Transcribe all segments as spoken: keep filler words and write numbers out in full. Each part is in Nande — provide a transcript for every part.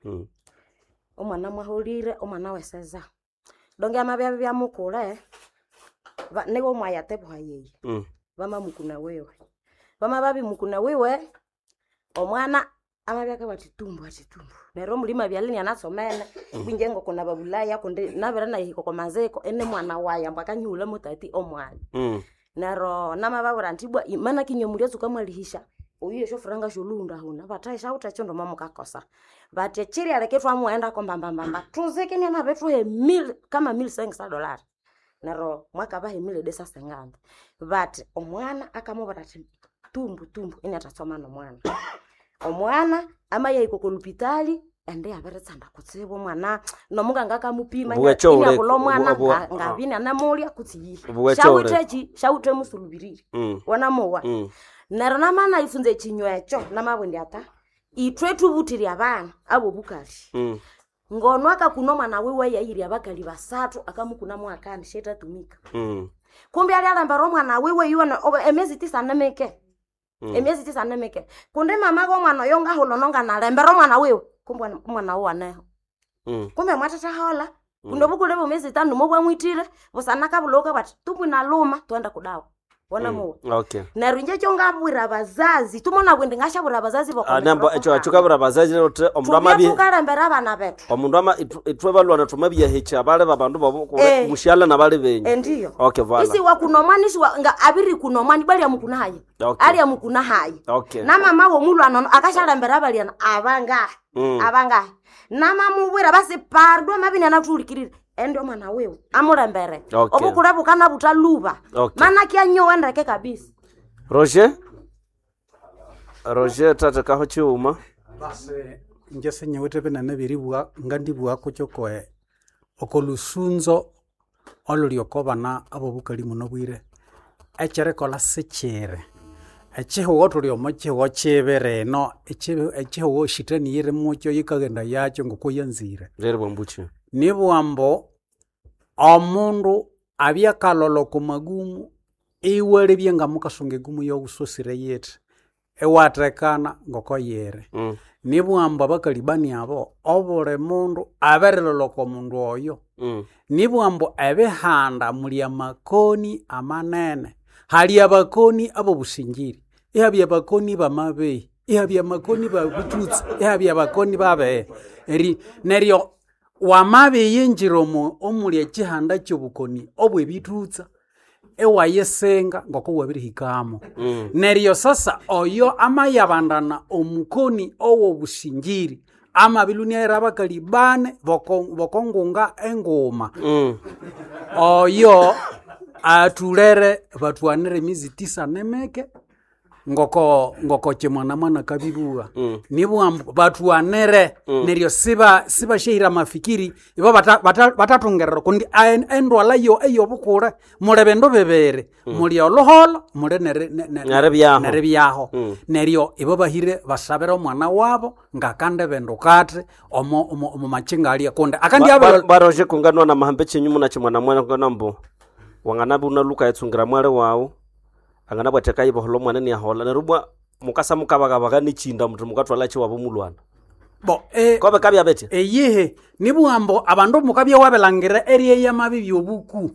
Mm. Omwana mwaholire omwana weseza donge amabya byamukule ba- niwe omwaya tebuha yeyi Mm. vamamukuna wiwe vamavavimukuna wiwe omwana amabya akabugha athi tumbu athi tumbu neryo omulimo abyalya inianasomene kwinje ngoko nababulaya kundi nabere nayihika oko maziko ini mwana wayi ambu akanyihulha tati omwanya Mm. neryo namababwira indi ibwa maana kinywe mulyatsuka mwalihisya oyu esyofuranga syolhuhundahunda bathi syawithe ekyindu mwamukakosa bathi ekyirialeka ithwamughendako mbambambamba thuzike inianabithuha emili kama mili sengisa dolari neryo mwakabaha emili desa senganda bathi omwana akamubwira athi tumbu tumbu iniathatsoma nomwana omwana amayahika oko lupitali ende yabiritsanda kutsibu omwana nomunganga akamupima Obuwekyo iniabulha obuleka- omwana obu- obu- nga- ngabya inianamulya kutsi yihi Obuwekyo syawithe obuleka. ki syawithe musulubirire Mm. wanamowa Mm. neryo namanayifunza ekinywa ekyo namabugha indi ata ithwe thubuthire abana abobukali Mm. ngono akakuna omwana wiwe yayirya abakali basathu akamukuna mwakani syetatumika Mm. kumbe alyalembera omwana wiwe yuwene emyezi tisa nimike Mm. emyezi tisa nimike kundi mama gomwana oyo ngahulha nonganalembera omwana wiwe kumbe omwana- omwana wuwe aneho Mm. kumbe mwathathahola kundi obukule bwemyezi itanu mobwamwithire busana kabulhuka bwati tumbu inaluma twenda kudawa wona Mm. muwa Okay. neryo inje kyongabwira abazazi tumona bwindi ngashabwira abazazi Ah, nembo ekyo ekyukabwira abazazi uthi omundu amabi thukalembera abana bethu omundu ama ithu- ithwe balwana thumabiyahikya abali babandu babo Eh. mushyala nabali benyu endiyo Okay, voilà. isi wakuna omwana isi wa- nga abiri kuna omwana ibwa lyamukuna hayi Okay. alya mukuna hayi Okay. namama womulwana ono akashalembera abalyana abangahi Mm. abangahi namamubwira basi pardo amabini anathulikirire endi omwana wiwe amulembere Okay. obukule bukana buthaluba Okay. mana kyanyowa ndeke kabisa Roger Roger thatekaho chiuma Basi inje sinyawithe binene biribugha ngandibugha kyokoe oko lusunzo oluli oko bana abobukali muno bwire ekyerikolha sikyiri ekihugho thuli omo kihugho kibi rino ekibi- ekihugho shitani yiri mukyo yikaghenda yakyo ngoko yanzire reri bwambuchi nibugha ambu omundu abya akalholha oko magumu iwalebya ngamukasunga egumu yoghusosire yithi iwathekana ngoko yiri mm. nibugha ambu abakalibani abo obuli mundu abirilholha oko mundu oyo Mm. nibugha ambu ebihanda muli amakoni amanene hali abakoni abobusingiri ihabya abakoni bamabehi ihabya amakoni babututsi ihabya abakoni babehe eri neryo wamabiyinjira omo omuli ekihanda kyobukoni obwebithutsa iwayisinga ngoko wabirihikamo Mm. neryo sasa oyo amayabandana omukoni owobusingiri amabilunia abakali bane boko- bokongunga enguma Mm. oyo athulere bathuanire emizi tisa nemeke ngoko ngoko kimwana mwana kabibuwa Mm. nibugha ambu bathuanire neryo siba sibashehira amafikiri ibo bata- bata- batathungerera kundi aen- endwala yo eyobukule muli bindu bibiri muli oluholo muli neri- ne- ne- Neribyaho. neribyaho Mm. neryo ibo bahire basabire omwana wabo ngakandi bindukathi omo omo omo makinga alya kundi akandi Ba- abiri ba- ba Roger kunganwa na mahambe chenyu muna chimwana mwana kungana mbu wanganabi unaluka yetsungira mwale wawu angana bwateka ibohola omwana niyahola neryo bwa mukasa mukabakabaga nichinda muthu mukathwala chiwabo mulwana bo eh, kobe kabya betya eyihe nibugha ambu abandu mukabya wabilangira eryeya mabibi obuku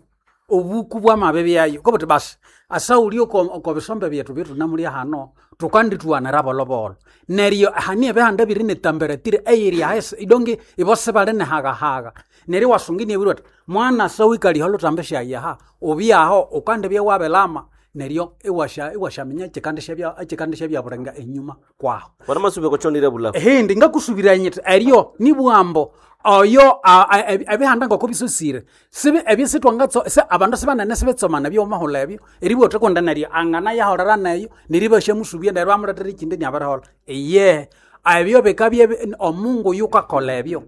obuku bwamabibi ayo kobuthi basi asauli oko oko bisombe byethu byetunamulya hano tukandithuwanira bolobolo neryo hani ebihanda biri netamperatire eyiri ahisi idongi ibo sibali nehagahaga neryo iwasunga inibwira uthi mwana sawikaliha olutambi syayaha ubyaho ukandibya wabilama neryo iwasha iwashaminya ekikandi syabya bulenga enyuma kwaho bona masubeko chonire bulafu hindi ngakusubirira nyiti eryo nibwambo oyo a- a- ebi- ebihanda ngoko bisosire sibi ebyo sitwangatso se abandu sibanene sibitsomana byomahulha ebyo eribwa uthi neryo angana yaholera neyo neryo ibasyamusubya neryo bamuletera ekindi inabiriholha iye ebyo bikabya ebi- omungu yukakolha ebyo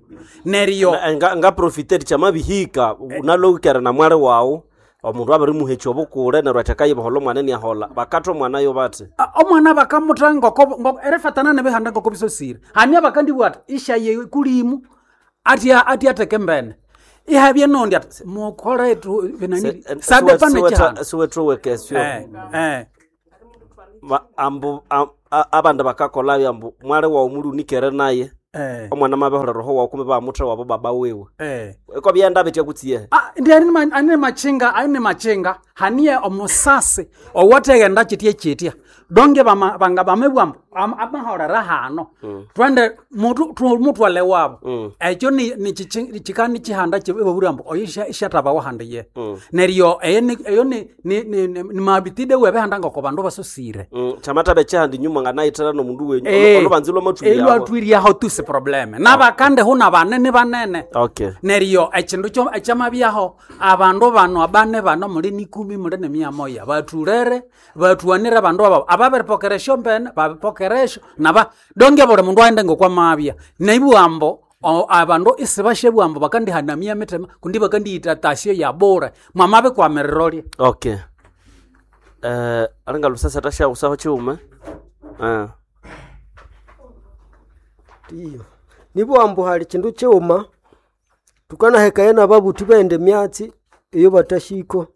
neryo nga, nga profiteri chamabihika unalowikere na mwale wawu omundu abirimuhekya obukule neryo atheka ibohola omwana niyahola bakatha omwana yo bathi A- omwana bakamutha ngoko ngoko- erifatana nebihanda ngoko bisosire hani abakandibugha ati ishaye kulimu athi athi atheke mbene ihabye nondi ati mukhole ethu binani sabe pane chihanda siwethuwekesyo eh eh Ba- ambu am- a- abandu bakakolabyo ambu mwale wawu muli unikere naye Eh. Omwana mabeholera roho wawu kumbe bamutha wabo baba wiwe. Eh. Eko byenda bitya kutsiye. Ah, ndi ani ma- ani machinga ani machinga haniye omusasi owateghenda chitye chitya donge bama- banga bamebwambu am- amahorera hano twende mutu- tu- mutwale wabo ekyo ni- ni chichi- chikani chihanda chibaburambu oyo isha- ishathabawo handi ye neryo eyo ni- eyo ni- ni- ni- ni- ni mabitide webehanda ngoko bandu basosire Mm, chamathabe kyahandi nyuma nganayithera nomundu wenyu. Eh, Olubanza lwamatwiryaho. elwatwiryaho tusi probleme nabakande huna banene banene Okay. neryo ekindu kyo ekyamabyaho abandu bano abane bano muli nikumi muli nemia moya bathulere bathuanire abandu aba ababiripokera esyombene babipokera esyo naba donge buli mundu aghende ngokwamabya neibughambo o- abandu isibashabughambo bakandihanamia emitima kundi bakandiyita tasyo yabure mwamabikwamirira olya Okay. Eh, alinga lusasa tashagusaho chiume. Eh. Ndiyo. Nibwambu hali chindu chiuma tukanahekaya nababuthi bende myatsi iyo batashiko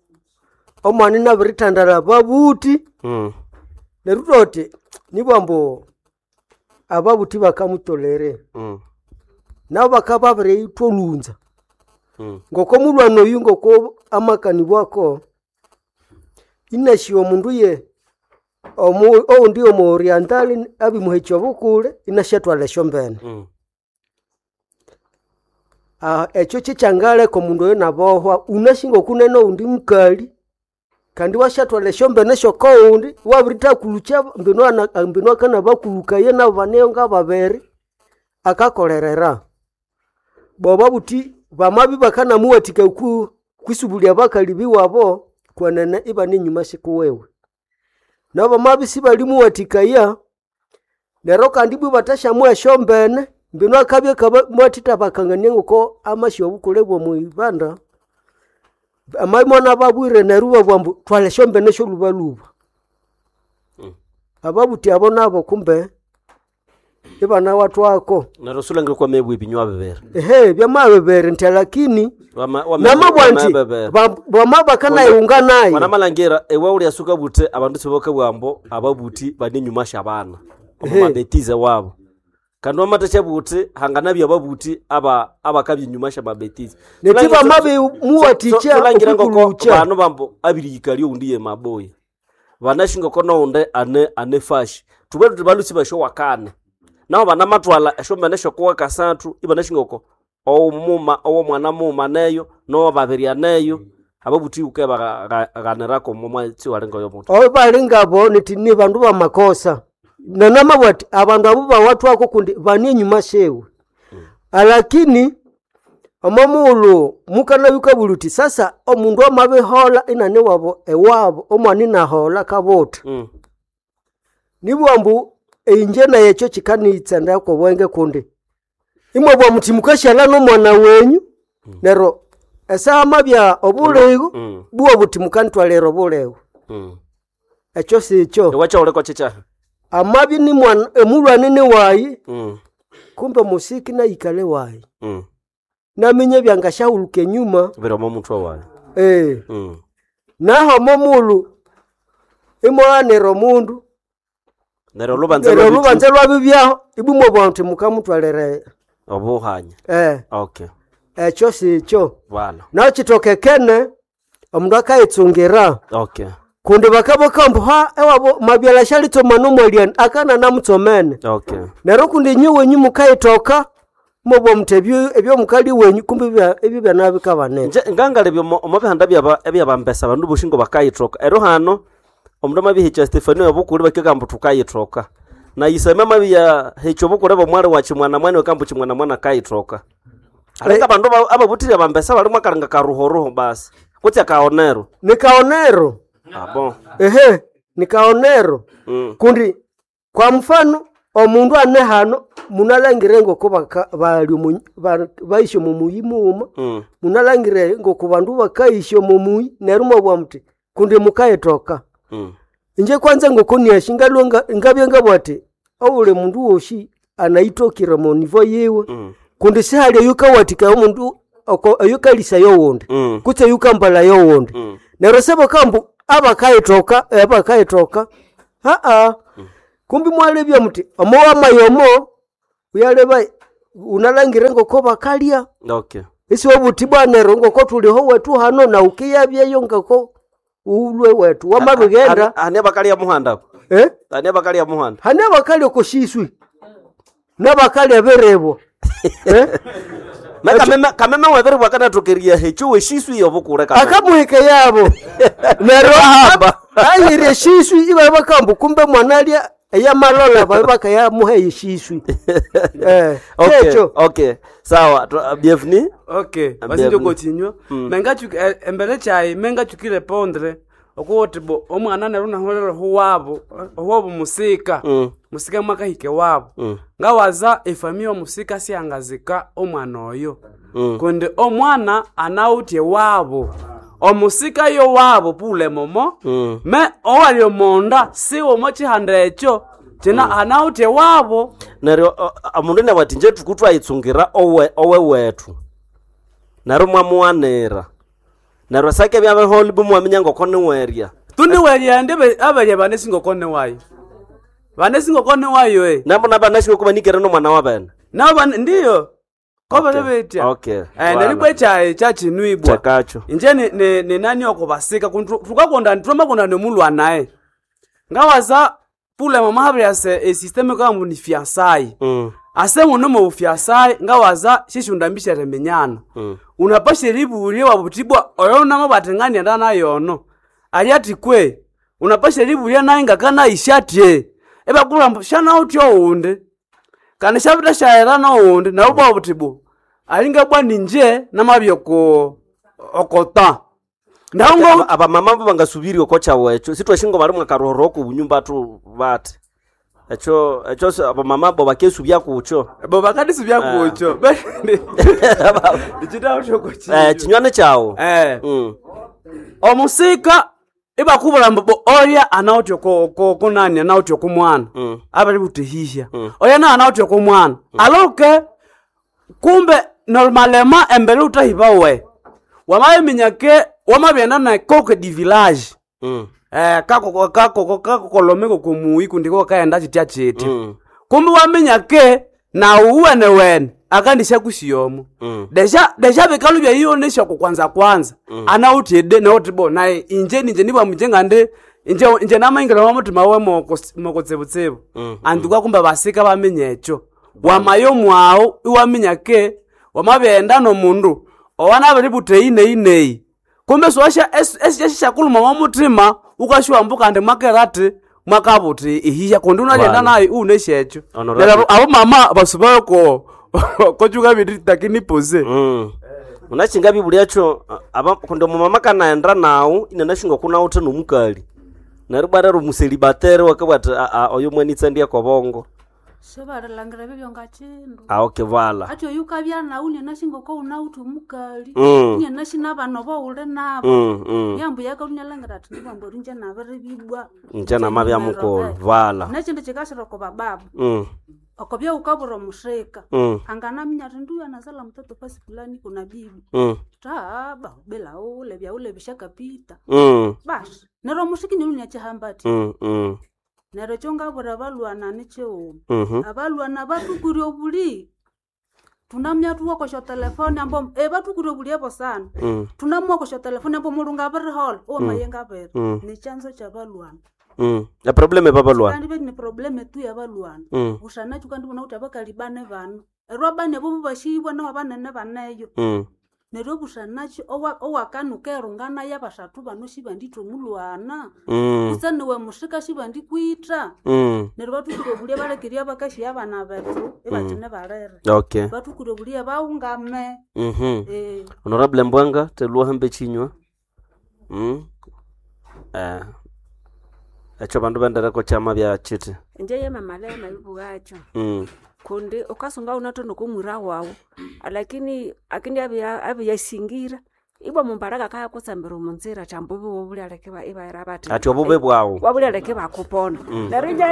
omwana inabirithandara babuthi Mm. neryo thoti nibwambu ababuthi bakamutolere Mm. nabo bakaba babiriyithwa olhunza Mm. ngoko mulwana oyu ngoko amakanibwako inashiwa omundu ye omu- owundi omu oriental abimuhekya obukule inasyathwala esyombene Mm. Ah, ekyo kyekyangaleka omundu oyo nabohwa unashinga okunene owundi mukali kandi wasyathwala esyombene syokowundi wabirithakulukya mbinu ana- mbinu akanabakulukaya nabo baneyo ngababiri akakolerera boba buthi bamabi bakanamuwathika ku kwisubulya bakali biwabo kwenene ibane enyuma sikuwewe nabo bamabi sibalimuwathikaya neryo kandi ibwa bathasyamuha esyombene mbinu akabya mwathitha bakangania ngoko amasi obukule bw'omuibanda amabi mwana babwire neryo ibabugha ambu thwala esyombene syolhubalhuba ababuthi abo nabo kumbe ibanawathwako Neryo sulangire kwa mebwe ebinywa bibiri. ehe byamabibiri nti lakini Wama wama namabwa nti wama- bama bakanayunga naye Wanamalhangira ewe ulyasuka buthe abandu sibakabugha ababuthi bane enyuma syabana omu Ehe. mabetize wabo kandi wamathasya buthi hanganabya ababuthi aba abakabya enyuma syamabetize Neti bamabimuwathikya Sulangire ngoko okwikulukya. banu bambu abirihika lyoundi ye maboya banasi ngoko nowundi ane ane fashi thubwe thuthi balusi basyowakane naho banamathwala esyombene syokuwa kasathu ibanasi ngoko owumuma owomwana mughuma neyo nowababiri aneyo ababuthi wuke baghanirako omwatsi walinga oyo muthi oyo bali ngabo niti ni bandu bamakosa nanamabwa ati abandu abo bawathwako kundi bani enyuma syewe alakini omo mughulhu mukanabikabulha uthi sasa omundu amabihola inani wabo ewabo omwana inahola kabutha Mm. nibugha ambu inje naye ekyo kikaniyitsendako obwenge kundi imwabugha muthi mukasyalha nomwana wenyu neryo esaha amabya obuligho Mm. bugha buthi mukanithwalira obuligho Mm. ekyo sikyo Ewakyawuleko kyekyahi amabya ni mwana emulhwani ni wayi Mm. kumbe musiki nayikale wayi Mm. naminya ebyangasyahuluka enyuma biri omo muthwe wayi eh Mm. naho omo mughulhu imwaghanira omundu neryo olubanza neryo lwabithi- olubanza lwabibyaho ibumwabugha muthi mukamuthwalira obuhanya eh okay ekyo sikyo bwana nakithokekene omundu akayitsungira okay kundi bakaboka ha ewabo mabyala syalitsoma nomwalyani akana namutsomene okay neryo kundi inye wenyu mukayithoka mubwa muthi ebyo ebyomukali wenyu kumbi bya- ebyo byanabikabanene nje ngangalebya omo omo bihanda byaba ebyabambesa abandu bosi ngo bakayithoka ero hano omundu amabihikya Stefano yobukule bakigamba thukayithoka na iseme amabiyahikya obukule bwomwali wa chimwana mwana wakambu chimwana mwana kayithoka alinga abandu ba- ababuthire abambesa bali mwakalinga karuhoruho basi kutsi akaonero nikaonero abo ehe nikaonero mm. kundi kwa mfano omundu ane hano munalangire ngoko baka- bali omu- ba- baisya omu muyi mughuma Mm. munalangire ngoko bandu bakaisya omu muyi neryo mwabugha muthi kundi mukayithoka Mm. inje kwanza ngoko niashi ngalwe nga- ngabya ngabugha ati obuli mundu wosi anayithokire omu nivo yiwe Mm. kundi sihali eyukawathikaya omundu oko- eyukalisaya owundi Mm. kutse eyukambalaya owundi Mm. neryo sebakambu abakayithoka abakayithoka aa kumbi mwalebya muthi omo wamayomo uyaleba unalangire ngoko bakalya Okay. isiwe buti bwanero ngoko tuliho wetu hano na ukiyabyeyo ngoko ulwe wetu wamabighenda Ani abakalya muhanda eh? ani abakalya muhanda hane abakali okoshiswi n'abakali aberebwa eh? Me kameme kameme wabere bwakanathokeria hecho weshiswi yobukure kameme akamuhike yabo neryo Bahamba. ayire eshiswi ibaye bakambu kumbe mwana alya eyamalola baye bakayamuha eshiswi eh, Okay, kyekyo okay. Sawa, tu- bienvenue. Okay, Ambia basinje bino. kochinywa. Mengachuki embere chai mengachukire pondre okuwoti bo omwana neryo naholera huwabo huwabo musika. Mm. Musika mwakahike wabo. Mm. Ngawaza efamiya omusika siyangazika omwana oyo. Mm. Kundi omwana anawutye wabo. Omusika yo wabo pule momo. Mm. Me owali omonda siwo mochihanda ekyo kina anawutye wabo. Neryo o- omundu nabwati nje tukutwayitsungira owe owe wethu. Neryo mwamuwanira. Neryo sake byabeholi bumwaminya ngoko niwerya. Tuniwelyende abalya banesingokone wayo. Banesingokone wayo eh. Nabo nabanashwe kuba nikere nomwana wabene. Nabo ndiyo. Koba Okay, okay. okay. Eh Wala. neribwe chayi chachinwibwa. Chakacho. Inje ni, ni, ni nani okubasika kuntu tukakonda tumakonda nemulwa naye. Ngawaza pule mama habya se e system kambu ni fiansai. Mm. Ase muno mu fiansai ngawaza shishundambisha reminyana. Mm. Unapasha libulie wabutibwa oyo namo batengani ndana yono. Ali kwe unapasha libulie naye ngakana ishatye. Ebakula shana utyo undi. Kana shabita shaera no undi na ubwa butibu. Alinga bwa ninje namabyoko okota. Ndaungo Aba- Abamama bo bangasubiri okocha wecho. Sitwashingo bali mwakarohoro ku bunyumba tu bati. Echo echo se- abamama bo bakesubya kucho. bo bakadisi byakucho. Ichita utyo kochi. Eh chinywane chawo. Eh. Mm. Omusika ibakubula mbu olya anawutya ko ko kunani anawutya ku mwana Mm. abali butihihya Mm. olya na anawutya ku mwana aloke kumbe normalema embere utahiba we wamabiminya ke wamabyenda na koke di village Mm. eh kako kako kako kolomeko kumuyi kundi ko kaenda chitya chitya Mm. kumbe waminya ke na uwene wene akandisha kusiyomo Mm. deja deja bikalu bya ionesha kwanza kwanza mm. anauti nauti bo naye inje ninje nibwa mjenga ndi inje inje namaingira wa mutima we moko moko tsebutsebu Mm, anduka kumba basika bamenye echo wamayo mwawo iwaminya ke wamabenda no mundu owana bali buteyi ineyi kumbe swasha esishakuluma wa mutima ukashuwa mbuka ndi mwakerati mwakabuti ihiya kundi unalenda Wala. naye uneshecho Honorable. lero abo mama basubayo ko kochuka bintu takini pose Mm. Unachinga bibulyacho aba kundi mumama kanaenda nawu inanashinga kunawuthe nomukali. Neryo bwarero muselibatere wakabwati a a oyo mwanitsa ndiye kobongo. Sibarilangira bibyo ngachindu Ah okay vala. ati oyu ukabya nawu nyanashinga ko unawuthi omukali Mm. nyanashina abana obo uli nabo Mm. Mm. yambu yakalunalangira ati nibwambu ori nje nabiribibwa Nje namabya mukulu vala. nechindu chikashira oko bababa Mm. okobya ukabura omushika Mm. anganaminya ati nduyu anazala mtoto fasi fulani kuna bibi Mm. taaba bila ule byaule bishakapita Mm. basi neryo omushiki nilunyachihamba ati Mm. Mm. neryo ekyo ngabura abalwana nichighuma Mhm. abalwana batukure obuli tunamya tuwakosha telefoni ambo e batukure obuli ebo sana Mm. tunamwakosha telefoni ambo mulungu abirihola owamayenga abiri Mm. ni chanzo cha balwana Mm. Ya probleme babalwana. kandi be ni probleme tu ya balwana Mm. usanacho kandi bona kuti abakali bane bano eryo abana abo bashibwa naho abanene baneyo Mm. neryo obusanacho owakanuka erungana yabasathu bano shibanditha omulwana Mm. kutse niwe mushika shibandikwitha Mm. neryo bathukire obulia balekerya abakashi abana bethu ibakyine balere Okay. bathukire obulia bawungame Mhm. eh. Honorable Mbwanga telwa hambe chinywa. Mm. Eh. Echo bandu bendereko chama bya chiti. Inje yemamalaya mayibuwacho Mm. kundi ukasunga unatono kumwira wawu lakini akindi abiya abiyasingira ibwa mumbaraka kaya kutsambira omunzira chambubi wobulyaleke ibaira bati Ati obube bwawu. wabulyaleke bakupona neryo inje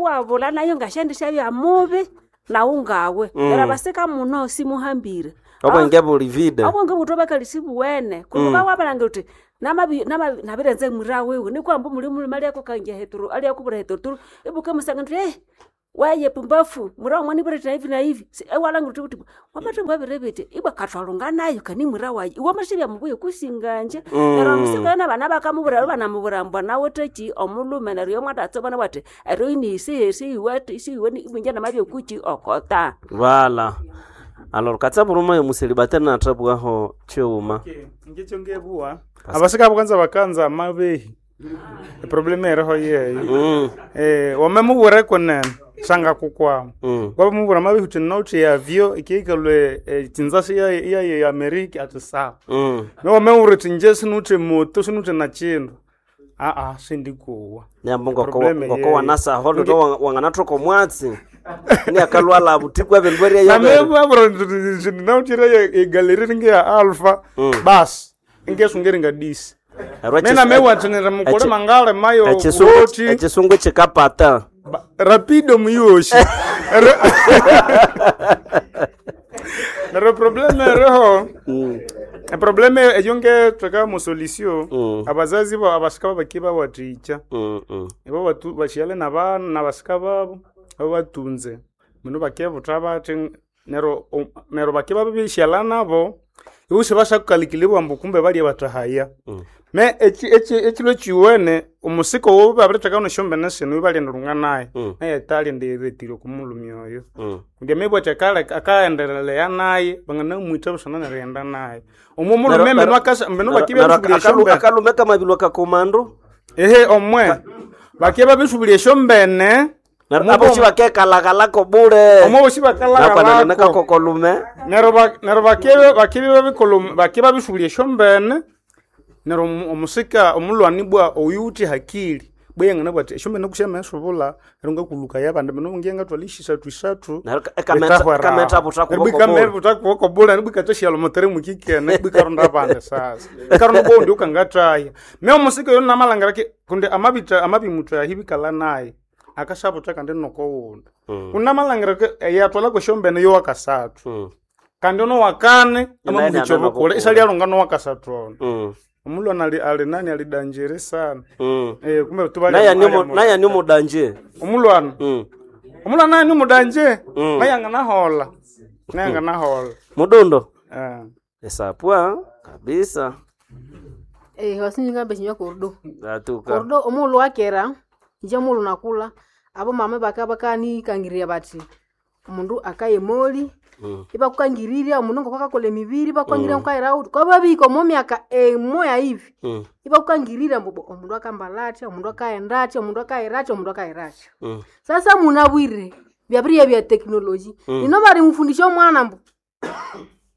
wabula nayo ngashandisha bya mubi nawu ngawe Mm. neryo abasika muno simuhambire Obwenge buli vide. obwenge buthu bakalisi buwene kundi wabalanga uthi namabi namabi nabirenze mwira wiwe nikwamba muli mulima lyako kange heturu alyakubura heturuturu ibuke musanga nti eh Weye pumbafu mwira wamwani bwira hivi na hivi Si- ewalangira uthi uthi wamathembu wabiribiti ibwa kathwalunga nayo kani mwira wayi iwe masibya mubuye kusinganje Mm. neryo omusika yona abana bakamubwira banamubwira mbwa nawe theki omulhume neryo yomwadatsa bwana bwati eryo inihisi iwe isiwe ibwinje namabya kuki okota Vala. Alors katsa buruma yo muselibatari nathabwaho chiuma. ngekyo ngebuwa abasika bukanza bakanza amabehi eproblemu eriho yeyo Mm. eh wamemubwira kunene shanga kukwama Mm. wamubwira amabehi uthi nauthi yavyo ikiikalwe tsinzasi yaye ya amerika ati sawa Mm. nowamewura uthi nje sinuthi moto sinuthi na chindu aa sindikuwa Nyambo ngoko Probleme ngoko yeyo. wanasaho ndo wanganathoka omwatsi. Ni akalwala butiku abendweria yabe. namewabura egaleri ringe ya alpha Mm. basi ingesungeringa disi mina mewathinira mukole Echi- mangale mayo Echisungu woti echisungu chikapata. Ba- rapido muyoshi neryo probleme eriho Mm. eprobleme eyo ngetheka musolisio Mm. abazazi bo abasika babaki bawathikya Mm. Mm. ibo batu bashiale nabana nabasika babo abo batunze mino bakebutha bathi neryo o- neryo bake babishyala nabo ibo sibashakukalikilibwa ambu kumbe balye bathahaya Mm. me eki- eki- ekilo ekiwene omusika owo babiritheka nesyombene sino ibalyenda lunga naye Mm. naye talenda eretire okumulumi oyo Mm. kundi amibwa akale akaendelelea naye banganamwitha busana nerighenda naye omwo omulume Nero- mbino nero- akasa mbino nero- bakibya nero bisubulia akalu- esyombene akalume kamabilwa kakomando. ehe omwe bakibya babisubulia esyombene Nero Omo- abo chibakekalaghalako bule. omwe bosi Nakwanana bakalagalako nakakokolume. neryo ba- neryo bakibya bakibya babikolo- bakibya babisubulia esyombene neryo omu- omusika omulwani bwa oyu uthi hakili bweyangana bwati esyombene kusyamesubula neryo ngakuluka yabandi bino ngiye ngatwala isisathu isathu Neryo ekameta kameta butakuboko. butakubokobula nibwikatashiyala mutere mukikene bwikaronda abandi sasa ikaronda bondi ukangataya me omusika oyo namalangira ki kundi amabita amabimuthahi bikala naye akashabuta kandi nokowundi Mm. kunamalangira ki yatwala kwesyombene yowakasathu Mm. kandi ono wakane Naye amamuhicha nana obukule bukule. isalialonga nowakasathu ono Mm. omulwana ali ali nani alidanjere sana Mm. eh kumbe tubali Naye ni naye ni mudanje. omulwana Mm. omulwana naye ni mudanje Mm. naye anganahola naye anganahola Mudundo. eh Esapwa kabisa. Eh, wasinjingambe chinywa kordo Atuka. kordo omuulu wakera inje muulu nakula abo mama baka bakanikangirirya bati omundu akaye moli Mm. ibakukangirirya omundu ngoko akakola emibiri bakukangirirya mm. nkaira uti kwababika omo myaka emoya hivi Mm. ibakukangirirya mbu bo, omundu akambala atya omundu akaghenda atya omundu akaghira atya omundu akaghira atya Mm. sasa munabwire byabiriya bya teknoloji Mm. nino barimufundisha omwana mbu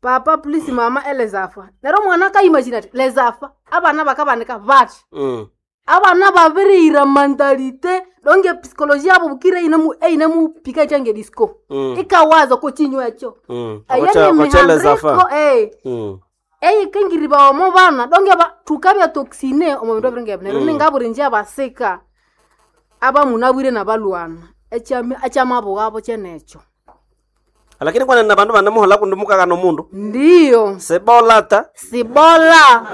papa please mama elezafa neryo omwana akayimagine ati lezafa abana bakabanika bati Mm. abana babiriyira mentalite donge psikolojia yabo bukire einemu einemu-pika ityange disco Mm. ikawaza kochinywa ekyo Mm. Eyo Kocha ni kocheleza fa. mihandiko, eh Mm. eyikingiriba omo bana donge ba tukabya toxine omo bindu ebiringa neryo Mm. ningabura inje abasika abamunabwire nabalwana ekyami ekyamabugha kyenekyo Lakini kwana na bandu banamuhola kundi mukagana omundu. ndiyo Sebolata. sibola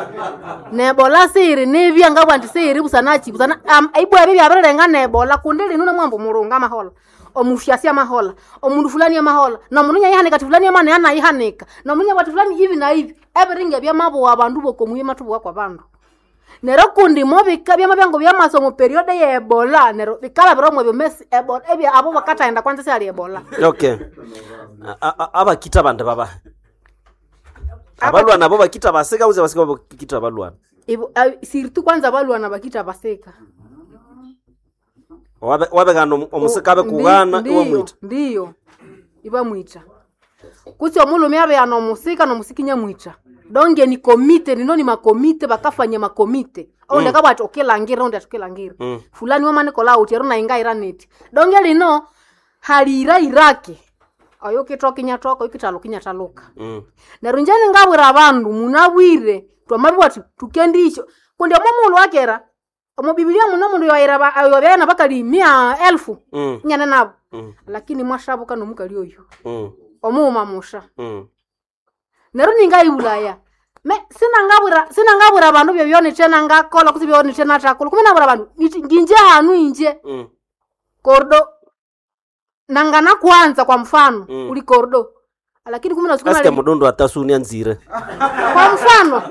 nebola siyiri nibya ngabwa nti siyiri busana ki busana um, ibwa ebyo byabirirenga nebola kundi linu namwamba omurungu amahola omufyasi amahola omundu fulani amahola nomundu nyayihanika ati fulani amana yanayihanika nomundu nyabwa ati fulani ivi na ivi ebiringa byamabuwa abandu bokomuye mathubuwa kwa bandu neryo kundi mobika byama byango byamasomo periode ye ebola neryo bikalabira omwebyo mesi ebola ebya abo bakathaghenda kwanza syali ebola Okay. A- a- Abakita bandu baba. Abalwana abo bakita basika uze basika bakita abalwana. Ibo- a- siritu kwanza balwana bakita basika Wabe wabegana omusika abe Ndi- kugana iwe ndiyo, mwita. ndiyo ibamwita kutsi omulume abeya nomusika nomusika inyamwita donge ni komite nino ni makomite bakafanya makomite oundi mm. akabwati okilangira oundi ati okilangira Mm. fulani wamanikola uti ero naingaira neti donge lino haliira irake oyo ukitoka inyatoka ukitaluka inyataluka Mm. neryo inje ningabwira abandu munabwire twamabibwa thi tukendisyo kundi omo mughulhu wakera omo bibilia muno omundu yoyira yobyana bakali mia elfu Mm. inyane nabo Mm. lakini mwashabuka nomukali oyu Mm. omughuma musha Mm. neryo ningayibulaya me sinangabwira sinangabwira abandu byobyonithe nangakola kutse byonithe nathakola kumi nabwira abandu ngithi nginje hanu inje Mm. kordo Nangana kwanza kwa mfano Mm. uli kordo lakini kumi na siku Asike nali- mudondo atasunia nzire. kwa mfano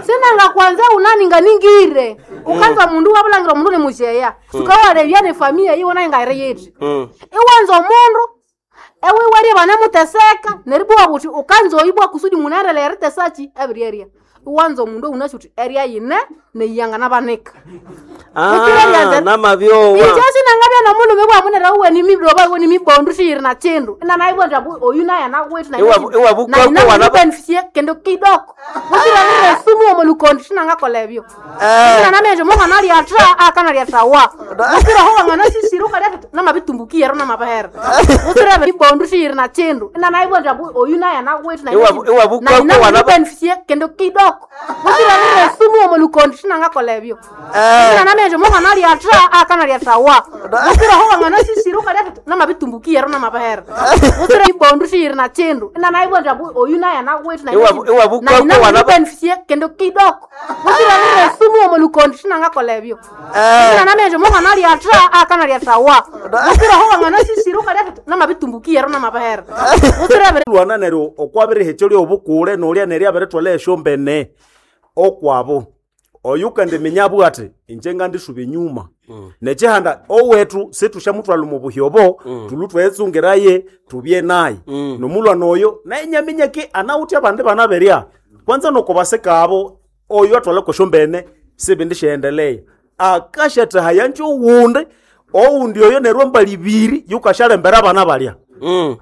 sinanga kwanza unaninga ningire ukanza mundu wabulangira mundu ni mujeya sukawalevya ne familia iwo naye ngaire yiti Mm. iwanza omundu ewe warie vanemuteseka neribwa buti ukanza oibwa kusudi munaendelea eritesachi ebiryeria iwanza omundu unasi uti eria yine neiyanga nabanika Ah, namavyowa. inje sinangabya nomundu mibwamunera uwe ni midoba uwe ni mibondu shiyiri na chindu ina naibwa mbu oyu naye anawetu na Iwa- iwa bukoko wana- beneficie kendo kidoko musirarire sumu omo lukondi shinangakola ebyo sinanamenje mwana lyatra akana lyatawa musiraho wangana sisiri ukalya namabitumbukia ro namabahera musirebe mibondu shiyiri na chindu ina naibwa mbu oyu naye anawetu na Iwa- iwa bukoko wana- beneficie kendo kidoko musirarire sumu omo lukondi shinangakola ebyo sinanamenje mwana lyatra akana lyatawa musiraho wangana sisiri ukalya namabitumbukia ro namabahera musire mibondu shiyiri na chindu ina naibwa mbu oyu naye anawetu na Iwa- iwa bukoko wana- beneficie kendo kidoko musirarire sumu omo lukondi shinangakola ebyo sinanamenje mwana lyatra akana lyatawa musiraho wangana sisiri ukalya namabitumbukia ro namabahera musirebe lwana neryo okwabirihetyo lyobukule nolya neryo abiritwala esyombene okwabo oyu kandiminya abugha ati inje ngandisuba enyuma nekyihanda owethu situsyamuthwalha omu buhyobo thulhu twetsungiraye tubye naye nomulwana oyo naye nyaminya ki anawithe abandi bana berya kwanza nokubasika abo oyo athwalha kwesyombene sibindi syaendeleya akasyathahaya nje owundi owundi oyo neryo embali ibiri yukasyalembera abana balya Mm.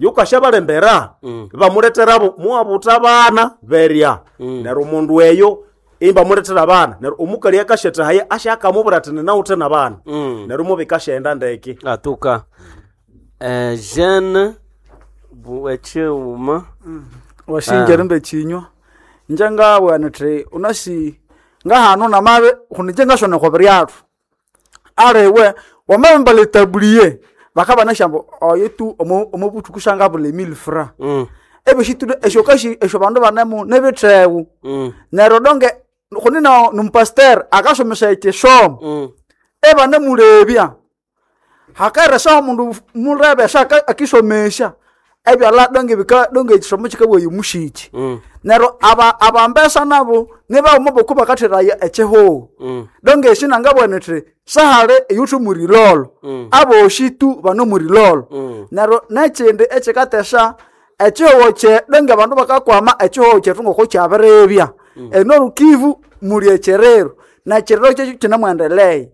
yukashabalembera bamuleterabo muwabuta abana berya neryo omundu eyo imbamuletera abana neryo omukali akashethaye ashakamubwira ati ninawuthe nabana neryo mubikashaenda ndeke Atuka. Eh, jeune bu echiuma. washinja rimbe chinywa nje ngabwa nti unasi ngahano namabe khunije ngashona kwa biryathu arewe wamabamba letabuliye bakaba nashambo oyo tu omo omo buthuku shanga bule mille francs Mm. ebyo esho kashi esho bandu banemu nebithewu Mm. neryo donge khuni no numpasteur akasomesa ekisomo Mm. ebanemulebya hakeresa omundu mulebe esa akisomesya ebyala donge bika donge ekisomo kikabwaya omushiki Mm. neryo aba abambesa nabo nibauma boku bakatheraya ekihuhu Mm. donge esi nangabwana ithi sahali eyuthi murilolo Mm. aboshi tu bano murilolo Mm. neryo nekindi ekikatesa ekihuho kye donge abandu bakakwama ekihuho kyethu ngoko kyabiribya enorukivu muli ekiriro nekiriro kyekyo kinamwendelea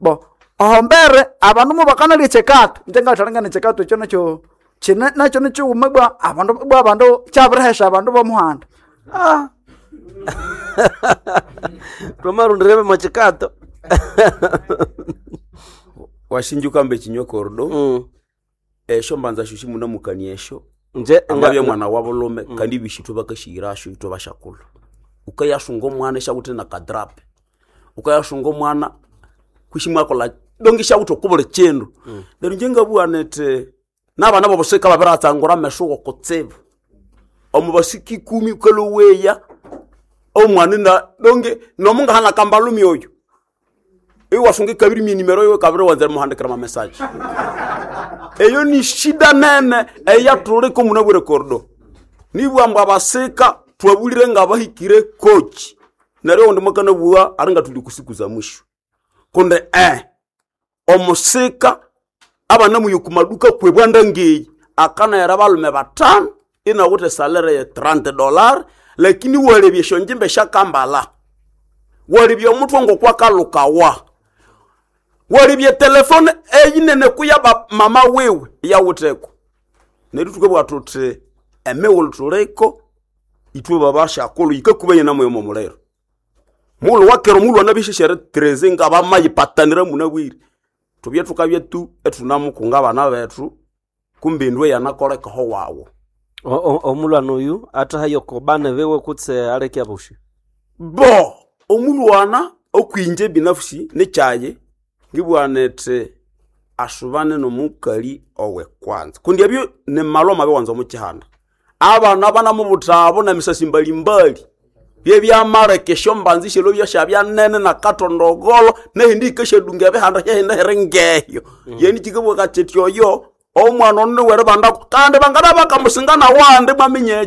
bo ohombere abandu mubakanalya ekyikato inje ngathalangana ekyikato ekyo nakyo kine nakyo nikighuma bwa abandu bwa abandu kyabirihesha abandu bomuhanda Ah. Twamarundirebe machikato. washinja ukambe chinywa kordo Mm. esho mbanza sho shimunamukania esho Nje amabya mwana wa bulome kandi bishithu bakashiyirasho ithwe bashakulhu ukayasunga omwana esyawuthe na kadrape ukayasunga omwana kwishimwakola donge syawuthe okubuli kindu neryo inje ngabugha nithi nabana bobusika babiratsangura amesu kutsibu omu basika ikumi ukaloweya omwana na donge nomungahana kambalumi oyo iwasunga ikabiri myenimero iwe kabiri wanza muhandikira mamesaje eyo ni shida nene eyathuliko munabwire kordo nibwamba abasika twabulire nga bahikire kochi neryo oundi mwakanabugha ari nga tuli kusiku za mwisho kundi eh omusika abana muyo kumaduka kwebwanda ngeyi akanayera balume batano inawuthe salere ye thirty dollar lakini walebya esyonjimba esyakambala walebya omutwe ngokwakalukawa walebya telefone eyinene kuya ba mama wiwe yawutheko neryo thukabugha thuthi emighulhu thuliko ithwe babashakulhu yikakubanye namoyo momuliro mughulhu wakera omulhu anabisheshere treze nga bamayipatanira munabwire thubye thukabya tu ethunamukunga abana bethu kumbe indwe yanakolekaho wawu Omulwana oyu athahayo kobana bewe kutse aleke abushi. bo omulwana okwinje binafsi nekyaye ngibugha nithi asubane nomukali owe kwanza kundi ebyo nimalwa mabi wanza omukihanda abana banamubuthabo nemisasi mbalimbali byebyamaleka esyombanza isyalo byashabya nene nakatondogolo nehindi yikashadunga ebihanda hyahindi hiri ngeyo yeni kikabugha kiti oyo Omwana ono niwere bandako kandi bangana bakamusinga nawandi mwaminya.